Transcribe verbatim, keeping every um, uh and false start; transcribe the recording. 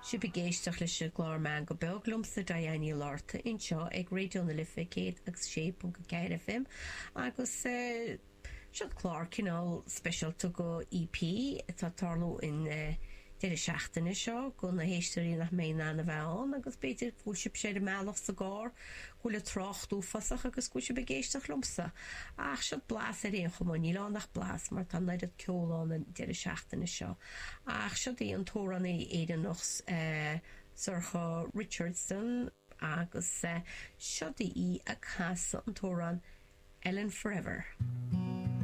Sibh ag éisteacht leis an gclár Meangadh Beag liomsa Diane Ní Fhlatharta anseo ag Raidió na Life céad agus sé ponc a ceathair FM agus eh, seo clár cineál speisialta go EP atá ag tarlú an eh, deireadh seachtaine seo go na héisteoirí nach mbeidh in ann a bheith ann agus b'fhéidir go bhfuil sibh ar an mbealach sa gcarr go bhfuil an trácht uafásach agus go bhfuil sibh ag éisteacht liomsa. Ach seo blas ar aon chuma níl ann ach blas mar tá an oiread ceoil ann an deireadh seachtaine seo. Ach seo í an t-amhránaí Éireannach eh, Sorcha Richardson agus eh, seo í ag casadh an t-amhrán Ellen Forever.